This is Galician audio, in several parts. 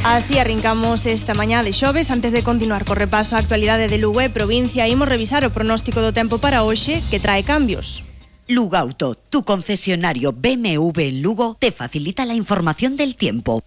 Así arrincamos esta mañá de xoves. Antes de continuar co repaso a actualidade de Lugo e provincia, imos revisar o pronóstico do tempo para hoxe, que trae cambios. Lugauto, tu concesionario BMW en Lugo, te facilita la información del tiempo.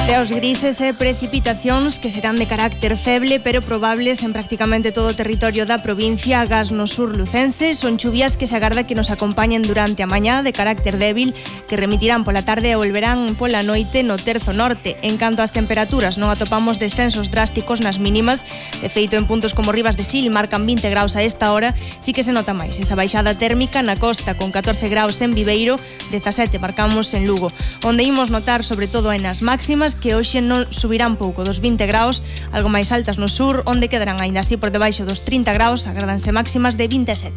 Ceos grises e precipitacións que serán de carácter feble pero probables en prácticamente todo o territorio da provincia, agás no sur lucense. Son chuvias que se agarda que nos acompañen durante a mañá, de carácter débil, que remitirán pola tarde e volverán pola noite no terzo norte. En canto ás temperaturas, non atopamos descensos drásticos nas mínimas. De feito, en puntos como Rivas de Sil marcan 20 graus a esta hora, sí que se nota máis esa baixada térmica na costa, con 14 graus en Viveiro, 17 marcamos en Lugo. Onde imos notar sobre todo en as máximas que hoxe non subirán pouco dos 20 graus, algo máis altas no sur, onde quedarán aínda así por debaixo dos 30 graus, agradanse máximas de 27.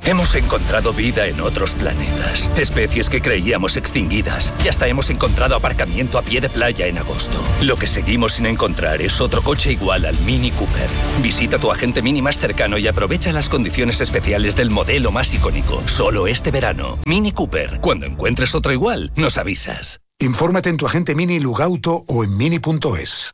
Hemos encontrado vida en otros planetas, especies que creíamos extinguidas, y hasta hemos encontrado aparcamiento a pie de playa en agosto. Lo que seguimos sin encontrar es otro coche igual al Mini Cooper. Visita tu agente Mini más cercano y aprovecha las condiciones especiales del modelo más icónico, solo este verano. Mini Cooper. Cuando encuentres otro igual, nos avisas. Infórmate en tu agente Mini Lugauto o en mini.es.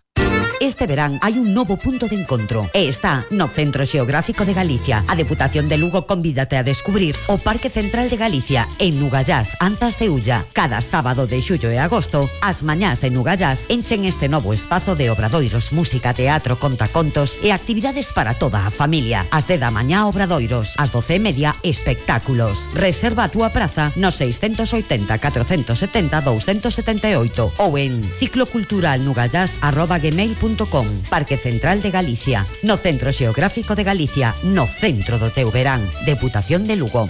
Este verán hai un novo punto de encontro e está no Centro Xeográfico de Galicia. A Deputación de Lugo convídate a descubrir o Parque Central de Galicia en Nugallás, Antas de Ulla. Cada sábado de xullo e agosto, as mañás en Nugallás enchen este novo espazo de obradoiros, música, teatro, contacontos e actividades para toda a familia. As 10 da mañá obradoiros, ás 12:30 espectáculos. Reserva a túa praza no 680 470 278 ou en cicloculturalnugallás@gmail.com. Parque Central de Galicia, no Centro Xeográfico de Galicia, no centro do teu verán. Deputación de Lugo.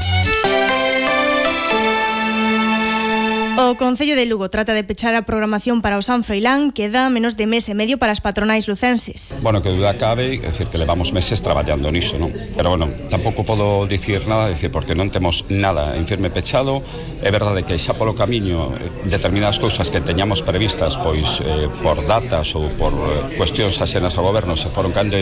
O Concello de Lugo trata de pechar a programación para o San Froilán. Queda menos de mes e medio para as patronais lucenses. Bueno, que duda cabe, é dicir, que levamos meses traballando niso, non? Pero, bueno, tampouco podo dicir nada, dicir, porque non temos nada en firme pechado. É verdade que xa polo camiño determinadas cousas que teñamos previstas, pois, por datas ou por cuestións axenas ao goberno se foron cando.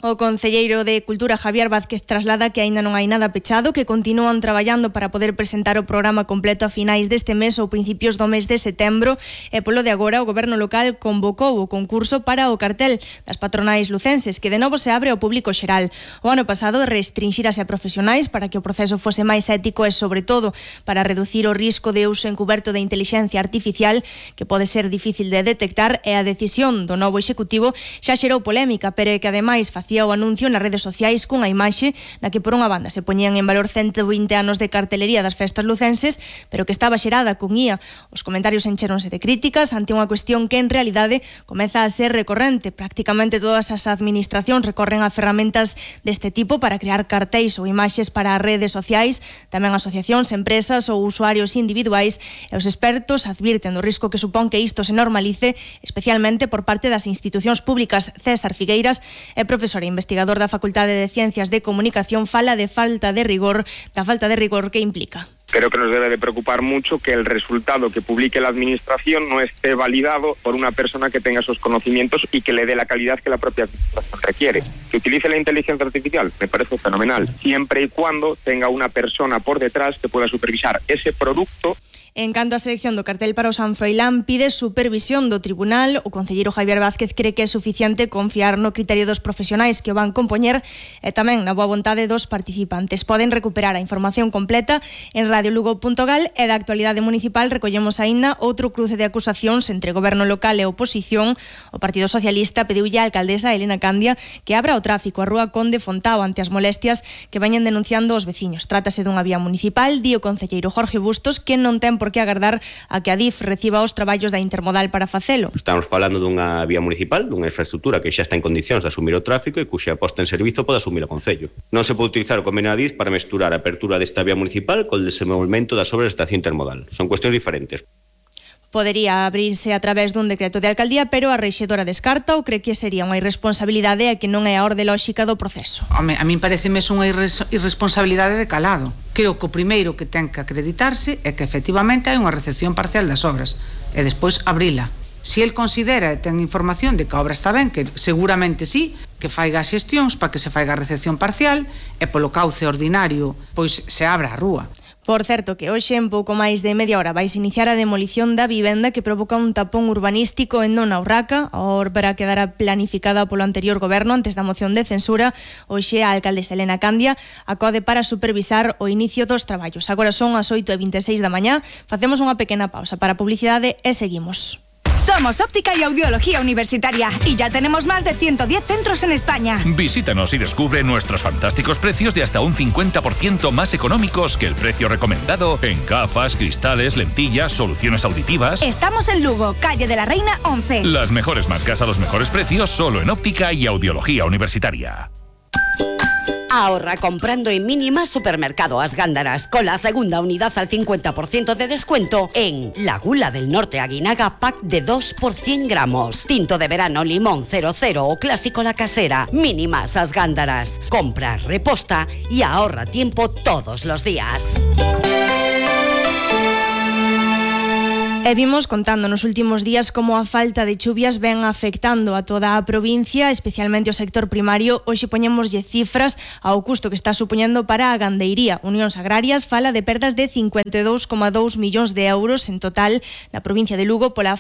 O concelleiro de Cultura, Javier Vázquez, traslada que aínda non hai nada pechado, que continúan traballando para poder presentar o programa completo a finais deste mes ou principios do mes de setembro, e polo de agora o goberno local convocou o concurso para o cartel das patronais lucenses, que de novo se abre ao público xeral. O ano pasado restrinxírase a profesionais para que o proceso fose máis ético e, sobre todo, para reducir o risco de uso encubierto de inteligencia artificial, que pode ser difícil de detectar, e a decisión do novo executivo xa xerou polémica, pero é que ademais facía o anuncio nas redes sociais cunha imaxe na que por unha banda se poñían en valor 120 anos de cartelería das festas lucenses, pero que estaba xerada con IA. Os comentarios encheronse de críticas ante unha cuestión que en realidade comeza a ser recorrente. Prácticamente todas as administracións recorren a ferramentas deste tipo para crear cartéis ou imaxes para as redes sociais, tamén asociacións, empresas ou usuarios individuais, e os expertos advirten do risco que supón que isto se normalice, especialmente por parte das institucións públicas. César Figueiras é profesor e investigador da Facultade de Ciencias de Comunicación, fala de falta de rigor que implica. Creo que nos debe de preocupar mucho que el resultado que publique la administración no esté validado por una persona que tenga esos conocimientos y que le dé la calidad que la propia administración requiere. Que utilice la inteligencia artificial me parece fenomenal, siempre y cuando tenga una persona por detrás que pueda supervisar ese producto. En canto á selección do cartel para o San Froilán, pide supervisión do tribunal. O concelleiro Javier Vázquez cree que é suficiente confiar no criterio dos profesionais que o van compoñer e tamén na boa vontade dos participantes. Poden recuperar a información completa en radiolugo.gal, e da actualidade municipal recollemos aínda outro cruce de acusacións entre goberno local e oposición. O Partido Socialista pediulle á alcaldesa Elena Candia que abra o tráfico a Rúa Conde Fontao ante as molestias que veñen denunciando os veciños. Trátase dunha vía municipal, di o concelleiro Jorge Bustos, que non ten por que agardar a que a DIF reciba os traballos da intermodal para facelo. Estamos falando dunha vía municipal, dunha infraestructura que xa está en condicións de asumir o tráfico e cuxa posta en servizo pode asumir o Concello. Non se pode utilizar o convenio da DIF para mesturar a apertura desta vía municipal co desenvolvemento das obras da estación intermodal. Son cuestións diferentes. Podería abrirse a través dun decreto de alcaldía, pero a rexedora descarta ou cree que sería unha irresponsabilidade e que non é a orde lóxica do proceso. A min pareceme unha irresponsabilidade de calado. Creo que o primeiro que ten que acreditarse é que efectivamente hai unha recepción parcial das obras e despois abrila. Se el considera e ten información de que a obra está ben, que seguramente sí, que faiga as xestións para que se faiga a recepción parcial e polo cauce ordinario pois se abra a rúa. Por certo que hoxe en pouco máis de media hora vais iniciar a demolición da vivenda que provoca un tapón urbanístico en Nona Urraca. A obra quedará planificada polo anterior goberno antes da moción de censura. Hoxe a alcaldesa Elena Candia acode para supervisar o inicio dos traballos. Agora son as 8:26 da mañá. Facemos unha pequena pausa para publicidade e seguimos. Somos Óptica y Audiología Universitaria y ya tenemos más de 110 centros en España. Visítanos y descubre nuestros fantásticos precios de hasta un 50% más económicos que el precio recomendado en gafas, cristales, lentillas, soluciones auditivas. Estamos en Lugo, calle de la Reina 11. Las mejores marcas a los mejores precios solo en Óptica y Audiología Universitaria. Ahorra comprando en Mínima Supermercado As Gándaras con la segunda unidad al 50% de descuento en la Gula del Norte Aguinaga pack de 2 por 100 gramos. Tinto de verano limón 00 o clásico La Casera. Mínimas As Gándaras. Compra, reposta y ahorra tiempo todos los días. E vimos contando nos últimos días como a falta de chuvias ven afectando a toda a provincia, especialmente o sector primario. Hoxe poñémoslle cifras ao custo que está supoñendo para a gandeiría. Unións Agrarias fala de perdas de 52,2 millóns de euros en total na provincia de Lugo pola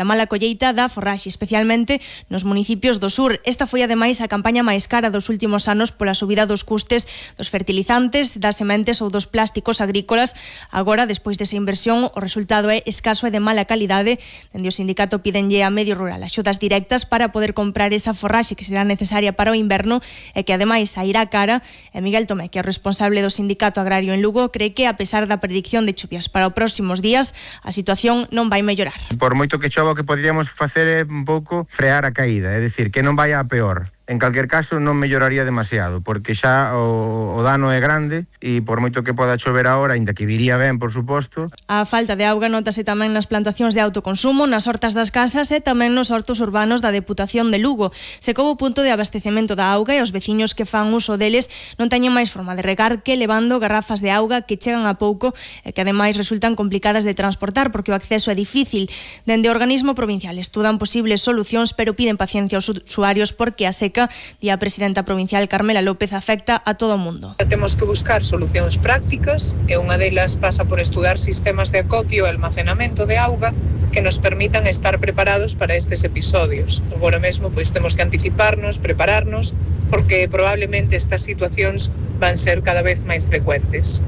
mala colleita da forraxe, especialmente nos municipios do sur. Esta foi ademais a campaña máis cara dos últimos anos pola subida dos custes dos fertilizantes, das sementes ou dos plásticos agrícolas. Agora, despois desa inversión, o resultado é escaso e de mala calidade. Dende o sindicato pídenlle a medio rural axudas directas para poder comprar esa forraxe que será necesaria para o inverno e que ademais sairá cara. E Miguel Tomé, que é o responsable do sindicato agrario en Lugo, cree que a pesar da predicción de chuvias para os próximos días, a situación non vai mellorar. Por moito que chova, o que poderíamos facer é un pouco frear a caída, é dicir, que non vai a peor. En calquer caso non melloraría demasiado, porque xa o dano é grande e por moito que poda chover agora, ainda que viría ben, por suposto. A falta de auga notase tamén nas plantacións de autoconsumo, nas hortas das casas e tamén nos hortos urbanos da Deputación de Lugo. Secou o punto de abastecemento da auga e os veciños que fan uso deles non teñen máis forma de regar que levando garrafas de auga que chegan a pouco e que ademais resultan complicadas de transportar porque o acceso é difícil. Dende o organismo provincial estudan posibles solucións, pero piden paciencia aos usuarios porque a seca, di a presidenta provincial Carmela López, afecta a todo o mundo. Temos que buscar solucións prácticas e unha delas pasa por estudar sistemas de acopio e almacenamento de auga que nos permitan estar preparados para estes episodios. Agora mesmo pois temos que anticiparnos, prepararnos, porque probablemente estas situacións van ser cada vez máis frecuentes.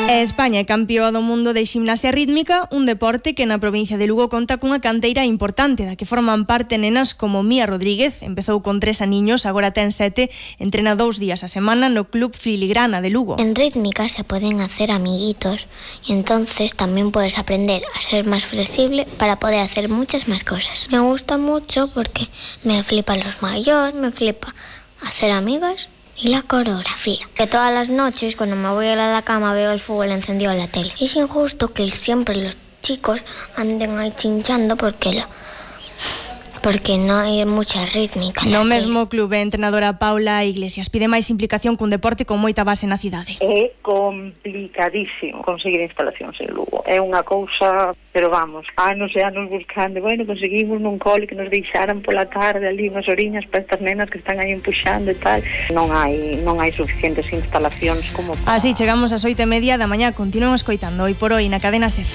España é campeoa do mundo de ximnasia rítmica, un deporte que na provincia de Lugo conta cunha canteira importante da que forman parte nenas como Mía Rodríguez. Empezou con 3 aniños, agora ten 7, entrena 2 días a semana no Club Filigrana de Lugo. En rítmica se pueden hacer amiguitos y entonces también puedes aprender a ser más flexible para poder hacer muchas más cosas. Me gusta mucho porque me flipan los mayores, me flipa hacer amigas y la coreografía. Que todas las noches cuando me voy a la cama veo el fútbol encendido en la tele. Es injusto que siempre los chicos anden ahí chinchando porque non hai mucha rítmica. No mesmo clube, a entrenadora Paula Iglesias pide máis implicación cun deporte con moita base na cidade. É complicadísimo conseguir instalacións en Lugo. É unha cousa, pero vamos, anos e anos buscando, conseguimos nun cole que nos deixaran pola tarde ali unhas oriñas para estas nenas que están aí empuxando e tal. Non hai suficientes instalacións como para... Así chegamos ás 8:30 da mañá. Continúan escoitando Hoy por Hoy na cadena SER.